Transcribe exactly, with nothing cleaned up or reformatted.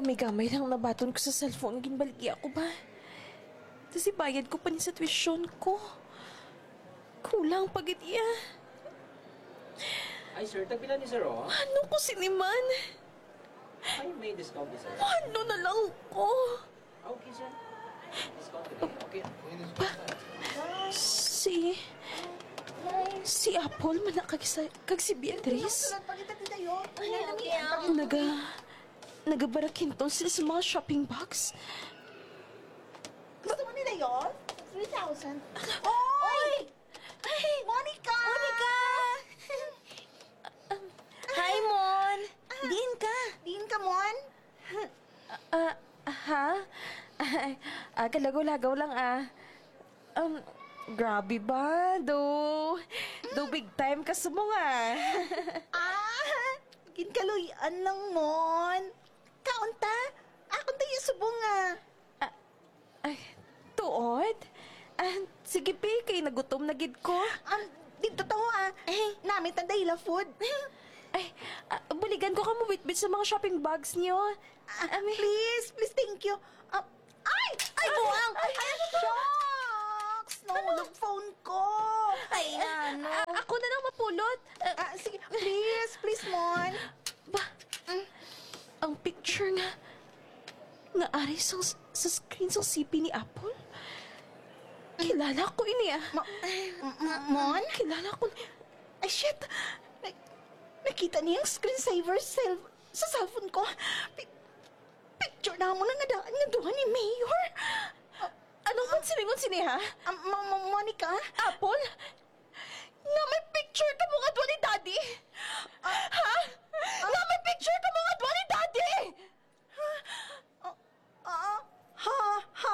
Gamay-gamay lang nabaton ko sa cellphone, ginbaligya ko ba? Tas ibayad ko pa ni sa tuition ko. Kulang pa gid iya. Ay, sir, tagpila ni sir, oh. Ano ko sini man? Ay, may discount ni sir. Ano na lang ko? Okay, sir. Discount ko na. Okay. Si... Si Apple man na kag, sa, kag si Beatrice. Sulat pa kita, Tita Yo. Naga... Nagabarakinton sila sa mga shopping bags. Gusto mo nila yun? Three thousand. Oy! Monica! Monica! Hi, Mon! Diin ka? Diin ka, Mon? Ah, ha? Ay, ah, kalagaw-lagaw lang, ah. Um, grabe ba? Do, do big time ka sa mga. Ah! Ginkaluy-an lang, Mon. Kaon ta? Akon tayo subong, ah. Ah, ay, tuod? Ah, sige, Pi, kay nagutom na gid ko. Um, dito to, ah. Namit ang dahila food. Ay, ah, buligan ko ka mo bitbit sa mga shopping bags niyo. Ah, please, please, thank you. Ah, ay! Ay, buang! Ay, shucks! Nahulog phone ko! Ay, ano? Ah, ako na lang mapulot. Ah, Ah, sige, please, please, Mon. Ba? Ang picture nga nga ari sa, sa screen sa C P ni Apple? Kilala ko ini, ah. Ma- m- m- Mon? Kilala ko. Ay, shit! Na- nakita niya ang screensaver sa, cell- sa cellphone ko. Pi- picture na mo na nga daan nga duha ni Mayor. Ano man silingon sini, ha? Ah, Ma- Ma- Monica? Apple? Nga may picture ka mo nga duha ni Daddy? Ha? Nga may picture ka mo